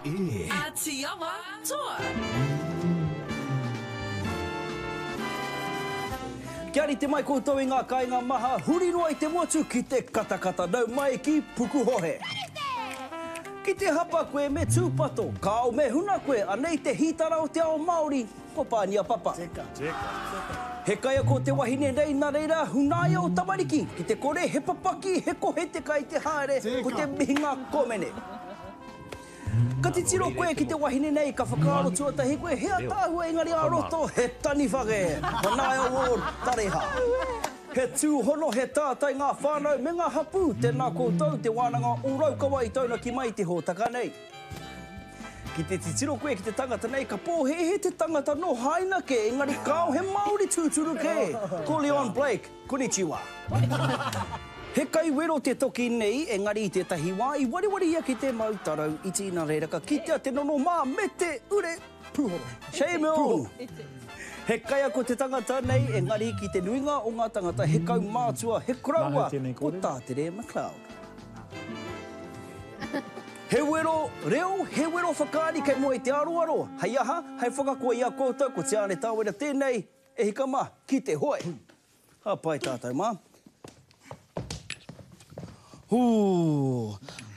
E. Atiawa Toa. Kia rite mai koutou i ngā kāinga maha huri noa i te motu ki te katakata nau mai ki Pukuhohe. Ki te hapa koe me tūpato, kāo me huna koe, anei te hītara o te ao Māori, ko Pānia Papa. He kaiako te wahine nei, nā reira, hunaia o tamariki, ki te kore he papaki, he kohe te kai te haere, ko te mihinga komene. Ka titiro koe ki te wahine nei, ka whakaaro tuatahi koe, he ataahua engari ā roto, he taniwha kē. Manaia Ward, Tareha. He tūhono, he tātai ngā whānau me ngā hapū, tēnā koutou, Te Wānanga o Raukawa i taunaki mai i te hōtaka nei. Ki te titiro koe ki te tangata nei, ka pōhēhē te tangata nō Haina kē, engari kāo he Māori tūturu kē, ko Leon Blake. Konnichiwa. He kaiwero te toki nei, engari i tētahi wā i wareware ia ki te mau tarau iti, nā reira ka kitea te nono mā me te ure pūhoro. Shame on! He kaiako te tangata nei, engari ki te nuinga o ngā tangata he kaumātua, he koroua, ko Tātere McLeod. He wero reo, he wero whakaari kei mua i te aroaro. Hei aha? Hei whakakoa i a koutou, ko Tiāne Tāwera tēnei, e hika mā, ki te hoe! Ka pai tātou mā. Hū.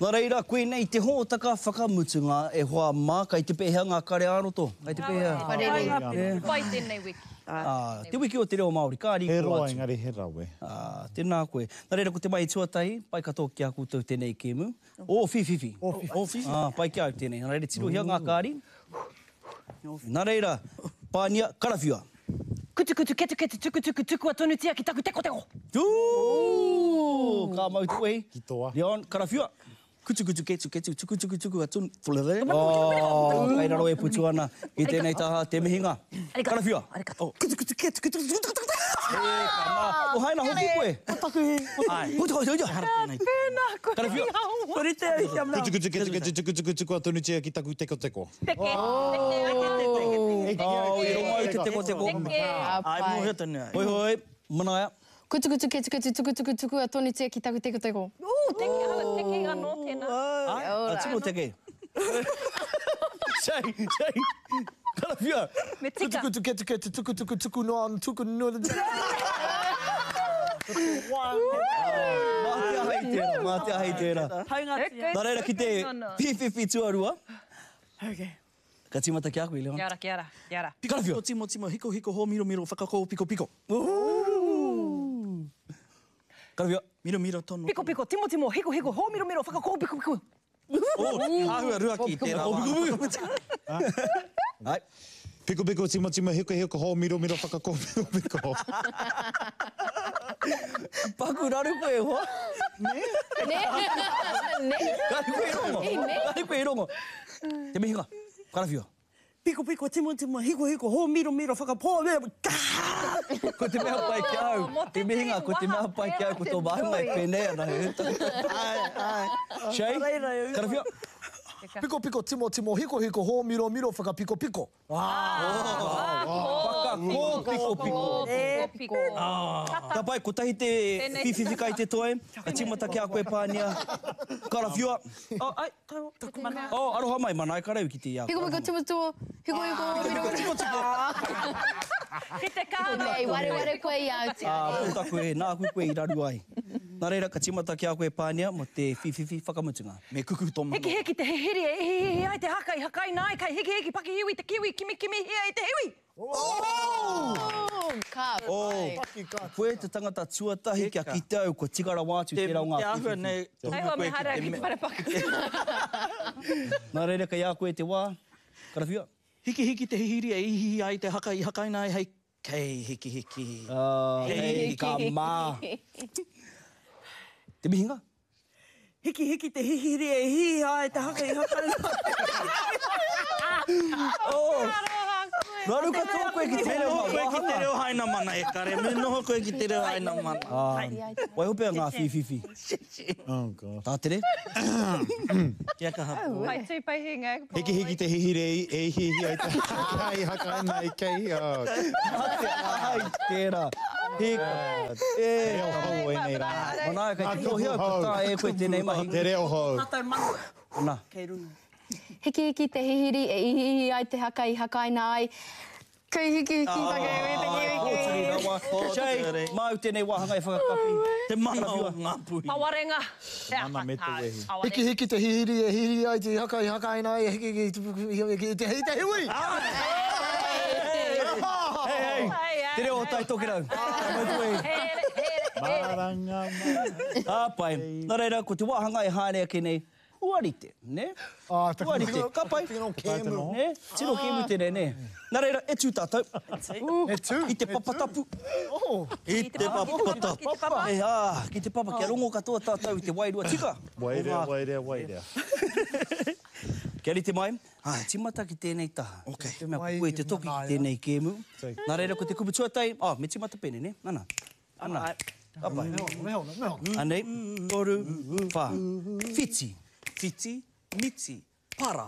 Nā reira, koinei te hōtaka whakamutunga e hoa mā, kai te pēhea ngā kare ā-roto? Kai te pēhea? Parere. Pai tēnei wiki. Ā, te wiki o te reo Māori, ka riko atu. He roa engari he rawe. Ā, tēnā koe. Nā reira, ko te mahi tuatahi, pai katoa ki a koutou tēnei kēmu. Ō whiwhiwhi. Ō whiwhiwhi. Ā, pai ki a au tēnei. Nā reira, tirohia ngā kāri. Nā reira, pānia, karawhiua. Kutukutu, ketuketu, tukutuku, tukua tonutia ki taku tekoteko. Ooh! Ka mau te wehi. Ki toa. Leon, karawhiua. Kutukutu, ketuketu, tukutuku, tukua tonu. Oh, kei raro e putu ana i tēnei taha te mihinga. Karawhiua. Kutukutu, ketuketu, tukutuku. E ka mā. O haina hoki koe. Ko taku he. Ai. Tēnā koe. Karawhiua. Ko rite au kia mea. Kutukutu, ketuketu, tukutuku, tukua tonutia ki taku tekoteko. Teke, teke, teke, teke. Oh, i rongo au te tekoteko. Teke. Ai, mōhio tonu au. Hoi hoi, Manaia. Kutukutu, ketuketu, tukutuku, tukua tonutia ki taku tekoteko. Ooh, teke, hala, teke anō tēnā. Ai, a tino teke. Shane, Shane, karawhiua. Me tika. Kutukutu, ketuketu, tukutuku, tuku noa, tuku noa. Mā te aha i tērā, mā te aha i tērā. Haunga tia. Nā reira ki te pīwhiwhi tuarua. Okay. Ka tīmata ki a koe, Leon. Kia ora, kia ora, kia ora. Karawhiua. Piko, timo, timo, hiko, hiko, hō, miro, miro, whakakō, piko, piko. Karawhiua. Miro, miro, tono. Piko, piko, timo, timo, hiko, hiko, hō, miro, miro, whakakō, piko, piko. Oh, āhua ruaki tērā wā. Ai. Piko, piko, timo, timo, hiko, hiko, hō, miro, miro, whakakō, piko, piko. Paku raru koe e hoa. Nē? Nē? Kāre koe i rongo. I nē? Kāre koe i rongo. Te mihinga. Karawhiua. Piko piko, timo timo, hiko hiko, hō miro miro, whakapō, kā! Ko te mea pai ki a au, te mihinga, ko te mea pai ki a au, ko tō māhunga e pēnei ana. Āe, āe. Shay, karawhiua. Piko piko, timo timo, hiko hiko, hō miro miro, whakapiko piko. Whakakōpikopiko. Ka pai, kotahi te whiwhiwhi kai te toe, ka tīmata ki a koe Pānia. Karawhiua. Oh, ai, tau, taku mana. Oh, aroha mai, Manaia Kareu ki te i a koe. Hiko hiko timo timo, hiko hiko miro miro. Ki te kānga. Nei, wareware koe i a au te Ā, puta koe, nāku koe i raru ai. Nā reira, ka tīmata ki a koe Pānia mō te whīwhiwhi whakamutunga. Me kuku tō manawa. Hekiheki te hihiri e ihiihi ai te haka i hakaina ai kai hikihiki pakihiwi te kiwi kimikimihia i te hiwi! Oh! Ka pai. Oh, koe te tangata tuatahi kia kite au kua tika rawa atu tērā o ngā Te āhua whīwhiwhi. nei, tohunga Hei hoa koe me ki haere te ki te wharepaku. Nā reira, kei a koe te wā, karawhiua. Hikihiki te hihiri e ihiihi ai te haka i hakaina ai hei Kei hikihiki. Oh, hei ka mā. Te mihinga? Hikihiki te hihiri e hihi ai te haka i haka. Oh. Raru katoa koe ki te reo Noho koe ki te reo Hainamana e kare, me noho koe ki te reo Hainamana. Waiho pea ngā whīwhiwhi. Oh gosh. Tātere. Kia kaha. Pai tū pai hinga. Hikihiki te hihiri e ihiihi ai te haka i hakaina i kei. Oh. Mate ai tērā. Hika. E. Te reo hou ēnei rā. Manaia kei te mōhio ka taea e koe tēnei mahi. Te reo hou. Tātou mana. Ana. Kei runga. Hikihiki te hihiri e ihiihi ai te haka i hakaina ai. Kei hikihiki whakaiwi te kiwi Pōturi rawa. Shay, māu tēnei wāhanga e whakakapi. Te mana o Ngāpuhi. Pawarenga. Te Mana me te wehi. Hikihiki te hihiri e hihiri ai te haka i hakaina ai e hikihiki te te te hiwi! Hei, hei! Te reo o Tai Tokerau. Mau te wehi. Maranga mai. Ka pai. Nā reira, ko te wāhanga e haere ake nei, Huarite, nē? Ah, taku Huarite, ka pai. Tino kēmu. Nē? Tino kēmu tēnei, nē? Nā reira, e tū tātou. E tū. I te papa tapu. Oh. I te papa tapu. E, ā, ki te papa, kia rongo katoa tātou i te wairua tika. Wairea, wairea, wairea. Kia rite mai, tīmata ki tēnei taha. Okay. Te mea ko koe te toki ki tēnei kēmu. Nā reira, ko te kupu tuatahi, oh, me tīmata pēnei, nē? Nana. Ana. Ka pai. Me hona, me hona, me hona. Anei, toru, wha. Whiti. Whiti, miti, para.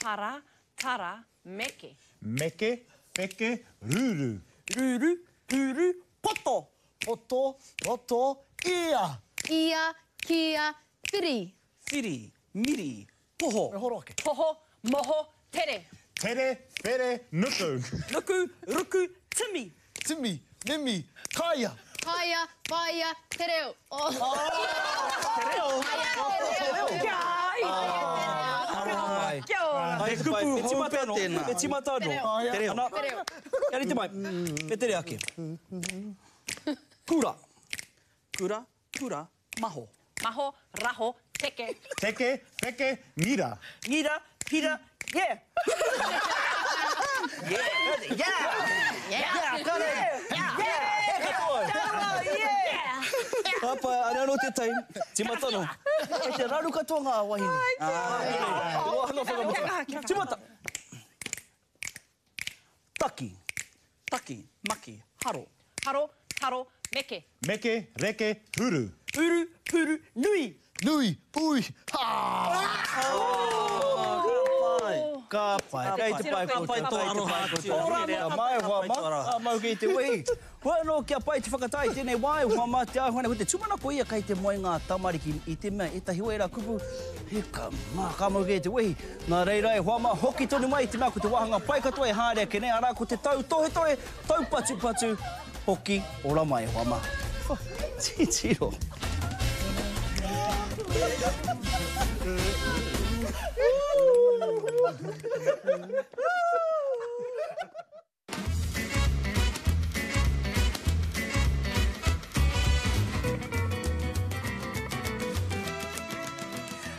Para, tara, meke. Meke, peke, ruru. Ruru, puru, poto. Poto, roto, ia. Ia, kia, whiri. Whiri, miri, poho. Me horo ake. Poho, moho, tere. Tere, where, nuku. Nuku, ruku, timi. Timi, mimi, kaia. Kaia, whaia, te reo. Oh. Te reo? Te reo. Kia ora. Kia ora. He kupu hou pea tēnā. Me tīmata anō. Te reo. Ana, Te reo. kia rite mai. Me tere ake. Kura. Kura, pura, maho. Maho, raho, teke. Teke, peke, ngira. Ngira, hira, yeah. Yeah! Yeah! Ka rere! Yeah! He katoa! Yeah. Ka pai, ana anō te taim. Tīmata anō. Kei te raru katoa ngā wahine. Te wāhanga whakamutunga. Tīmata! Taki. Taki, maki, haro. Haro, taro, meke. Meke, reke, huru. Uru, puru, nui. Nui, ui, ha! Ka pai. Kei te pai koutou. Ka pai tō aroha atu. Ka mai e hoa mā, ka mau ki te wehi. Hoi anō kia pai te whakatā i tēnei wā e hoa mā te āhua nei. Ko te tūmanako ia kei te moe ngā tamariki i te mea ētahi o ērā kupu, hika mā, ka mau ki te wehi. Nā reira e hoa mā, hoki tonu mai i te mea ko te wāhanga pai katoa e haere ake nei, arā ko te tautohetohe, taupatupatu, hoki ora mai e hoa mā. Titiro.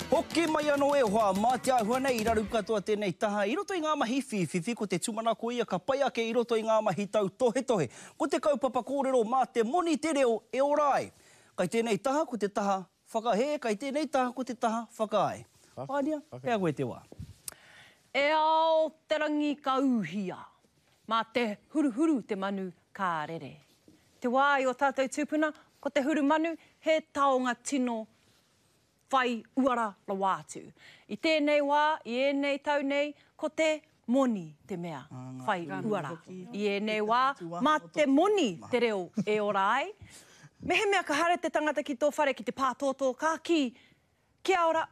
Hoki mai anō e hoa, mā te āhua nei i raru katoa tēnei taha i roto i ngā mahi whīwhiwhi, ko te tūmanako ia ka pai ake i roto i ngā mahi tautohetohe. Ko te kaupapa kōrero mā te moni te reo e ora ai. Kai tēnei taha ko te taha whakahē, kai tēnei taha ko te taha whakaae. Pānia, kei a koe te wā. E ao te rangi ka uhia. Mā te huruhuru te manu ka rere. Te wā i o tātou tūpuna, ko te huru manu he taonga tino whai uara rawa atu. I tēnei wā, i ēnei tau nei, ko te moni te mea whai uara. I ēnei wā, mā te moni te reo e ora ai. Mehemea ka haere te tangata ki tō whare ki te pātōtō, ka kī, Kia ora,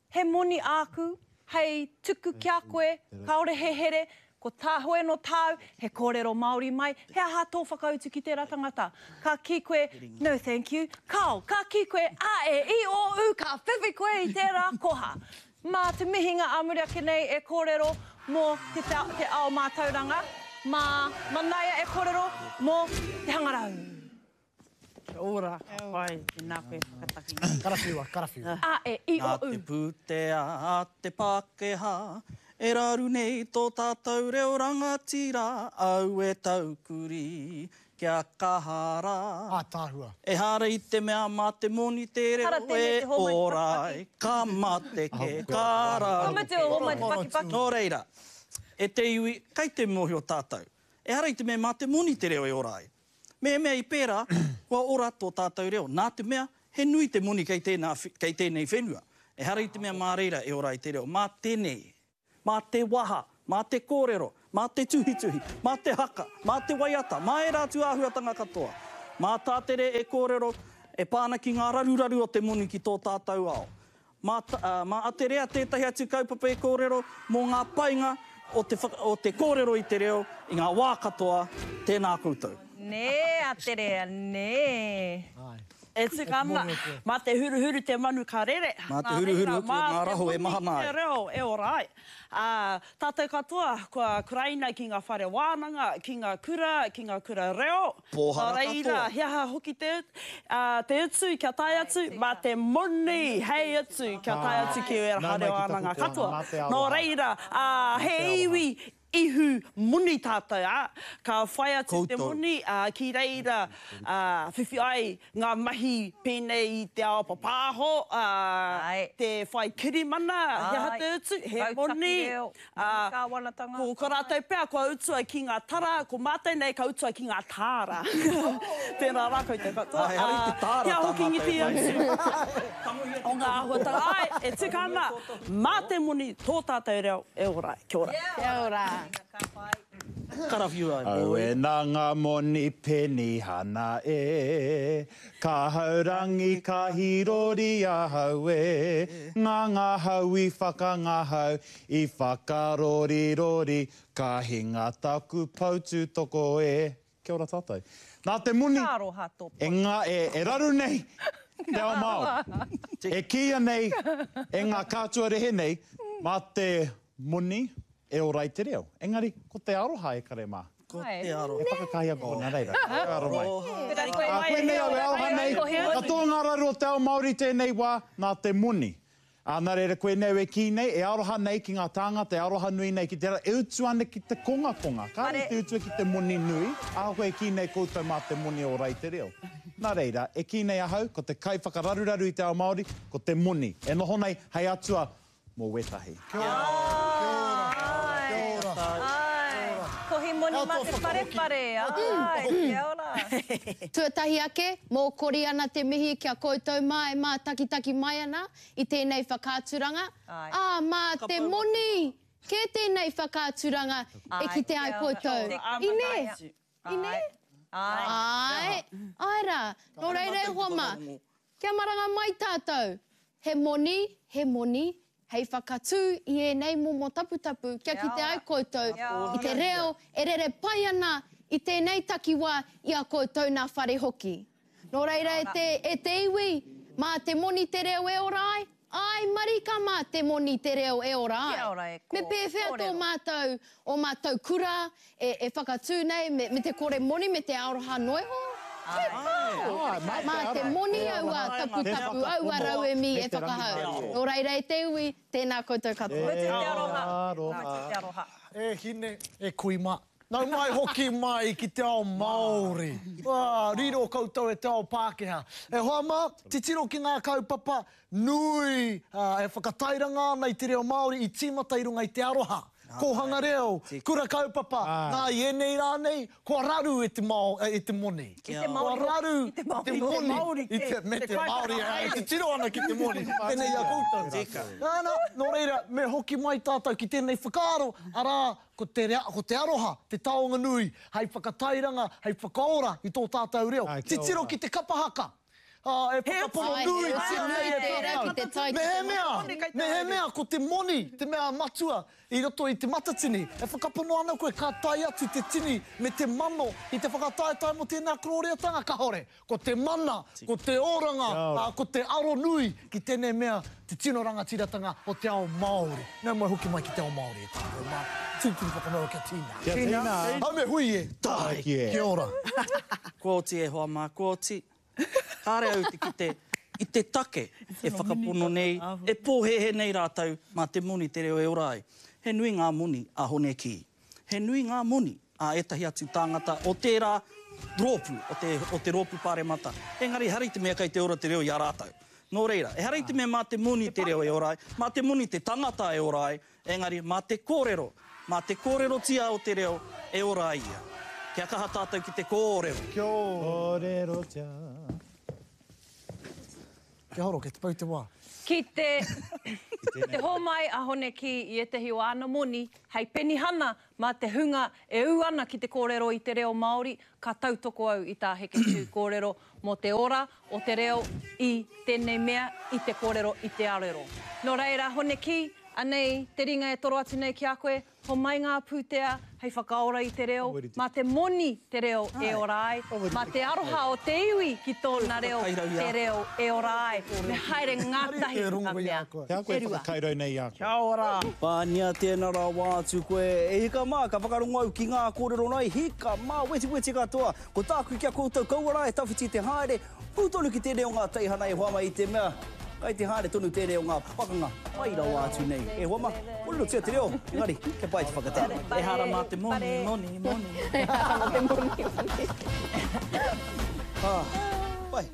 He moni āku hei tuku ki a koe, kāore he here, ko tā hoi anō tāu, he kōrero Māori mai, he aha tō whakautu ki tērā tangata? Ka kī koe, no thank you, kāo, ka kī koe, a e i o u, ka whiwhi koe i tērā koha. Mā te mihinga ā muri ake nei e kōrero mō te te ao mātauranga, mā Manaia e kōrero mō te hangarau. Kia ora, ka pai, tēnā koe whakataki mai. Karawhiua, karawhiua. A, E, I, O, Nā U. te pūtea a te Pākehā, e raru nei tō tātou reo rangatira, aue taukuri, kia kaha rā. Ātaahua. Ehara i te mea mā te moni te reo Hara tēnei e te homai te ora pakipaki. ai, ka mate kē, ka raru Ka mutu o homai te pakipaki. Nō reira, e te iwi, kei te mōhio tātou, ehara i te mea mā te moni te reo e ora ai. Mehemea i pērā, kua ora tō tātou reo, nā te mea, he nui te moni kei tēnā, kei tēnei whenua. Ehara i te mea mā reira e ora ai te reo, mā tēnei, mā te waha, mā te kōrero, mā te tuhituhi, mā te haka, mā te waiata, mā ērā atu āhuatanga katoa. Mā Tātere e kōrero e pā ana ki ngā raruraru o te moni ki tō tātou ao. Mā, mā Aterea tētahi atu kaupapa e kōrero mō ngā painga o te, o te kōrero i te reo i ngā wā katoa, tēnā koutou. Nē, Aterea, nē. E tika ana, mā te huruhuru te manu ka rere. Mā te huruhuru hoki o ngā raho e mahana ai. Nā reira, mā te moni te reo e ora ai. Ā, tātou katoa kua kuraina ki ngā whare wānanga, ki ngā kura, ki ngā kura reo. Pōhara Nā reira, katoa. he aha hoki te, ā, te utu kia tae atu? Mā te moni hei utu kia tae atu ki ērā whare wānanga katoa. Nō reira, ā, he iwi ihu moni tātou, ā, ka whai atu te moni, ā, ki reira, ā, whiwhi ai ngā mahi pēnei i te ao papāho, ā, te whai kirimana, he aha te utu? He moni, ā, ko, ko rātou pea kua utua ki ngā tara, ko mātou nei ka utua ki ngā tāra. Tēnā rā koutou katoa. Ā, ehara i te tāra Kia tā hoki mātou ngiti e whai atu nei. o ngā āhuatanga. Āe, e tika ana, mā te moni tō tātou reo e ora ai. Kia ora. Kia ora. Karawhiua e boy. Aue nā ngā moni penihana e, Ka haurangi ka hīrori ahau e, Ngā ngahau i whakangahau, i whakarorirori, Ka hinga taku poutūtoko e. Kia ora tātou. Nā te moni Ka aroha tō e, ngā, e, e raru nei te ao Māori. E kīia nei e ngā kātua rehe nei, mā te moni e ora ai te reo. Engari, ko te aroha e kare mā. Ko te aroha. E whakakahi aku nā reira. Ka aro mai. Aroha. Ā, koinei au e aroha nei, katoa ngā raru o te ao Māori tēnei wā, nā te moni. Ā, nā reira koinei au e kī nei, e aroha nei ki ngā tāngata, e aroha nui nei ki te rā, e utu ana ki te kongakonga. Kāre te utua ki te moni nui, ahakoa e kī nei koutou mā te moni e ora ai te reo. Nā reira, e kī nei ahau, ko te kaiwhakararuraru i te ao Māori, ko te moni, e noho nei hei atua mō wētahi. Kia ora, kia ora, kia ora. Āe, kohi moni mā te wharewhare, āe, kia ora. Tuatahi ake, mōkori ana te mihi ki a koutou mā e mātakitaki mai ana i tēnei whakaaturanga, ā, mā te moni kē tēnei whakaaturanga e kite ai koutou. I nē? I nē? Āe, āe rā. Nō reira e hoa mā, kia maranga mai tātou. He moni, he moni, hei whakatū i ēnei momo taputapu kia kite ai koutou i te reo e rere pai ana i tēnei takiwā i a koutou nā whare hoki. Nō reira e te, e te iwi, mā te moni te reo e ora ai? Āe marika mā te moni te reo e ora ai. Kia ora e kō, Me pēwhea tō kōrero. mātou, ō mātou kura e, e whakatū nei me, me te kore moni me te aroha noa iho? He pao! Mā te moni aua taputapu, aua rauemi e whakahau. Nō reira e te iwi, tēnā koutou katoa. Mutu te aroha. Mutu te aroha. E hine, e kui mā. Nau mai hoki mai ki te ao Māori. Ā, riro koutou e te ao Pākehā. E hoa mā, titiro ki ngā kaupapa nui e whakatairanga ana i te reo Māori i tīmata i runga i te aroha. Kōhanga reo, kura kaupapa, nā i ēnei rā nei, kua raru e te mao, e te moni. I te Māori Kua raru I te Māori. te moni. I te, me te Māori, e titiro ana ki te moni, pēnei i a koutou. Tika. Nā, nō reira, me hoki mai tātou ki tēnei whakaaro, arā, Ko te, ko te aroha te taonga nui hei whakatairanga, hei whakaora i tō tātou reo. Titiro ki te kapa haka. Ā, e whakapono nuitia nei e tātou. Mehemea, mehemea ko te moni te mea matua i roto i Te Matatini, e whakapono ana koe ka tae atu te tini me te mano i te whakataetae mō tēnā korōriatanga? Kahore. Ko te mana, ko te oranga, ā, ko te aro nui ki tēnei mea, te tino rangatiratanga o te ao Māori. Nau mai hoki mai ki te ao Māori e tātou mā. Tūturu whakamaua kia tīna. Kia tīna. Hau me hui e. Tae. Kia ora. Kua oti e hoa mā, kua oti. Kāre au te kite i te take e whakapono nei, e pōhēhē nei rātou mā te moni te reo e ora ai. He nui ngā moni a Hone Kī. He nui ngā moni a ētahi atu tāngata o tērā rōpū, o te, o te rōpū pāremata. Engari ehara i te mea kei te ora te reo i a rātou. Nō reira, ehara i te mea mā te moni te reo e ora ai, mā te moni te tangata e ora ai, engari mā te kōrero, mā te kōrerotia o te reo e ora ai ia. Kia kaha tātou ki te kōrero. Kia ora. Kōrerotia. Kia horo, kei te pau te wā. Ki te, te hōmai a Hone Kī i ētahi o āna moni hei penihana mā te hunga e ū ana ki te kōrero i te reo Māori, ka tautoko au i tā Heketū kōrero mō te ora o te reo i tēnei mea, i te kōrero i te arero. Nō reira, Hone Kī, anei te ringa e toro atu nei ki a koe, Homai ngā pūtea hei whakaora i te reo, mā te moni te reo e ora ai, mā te aroha o te iwi ki tōna reo te reo e ora ai, me haere ngātahi ngā mea e rua. Kia ora! Pānia tēnā rawa atu koe. E hika mā, ka whakarongo au ki ngā kōrero nei, hika mā, wetiweti katoa. Ko tāku ki a koutou, kaua rā e tawhiti te haere, Ū tonu ki tēnei o ngā teihana e hoa mai i te mea, kai te haere tonu tēnei o ngā pakanga pai rawa atu nei. E hoa ma, kōrerotia te reo, engari kia pai te whakatā. Ehara mā te moni, moni, moni. Ehara mā te moni, moni. Ah, pai.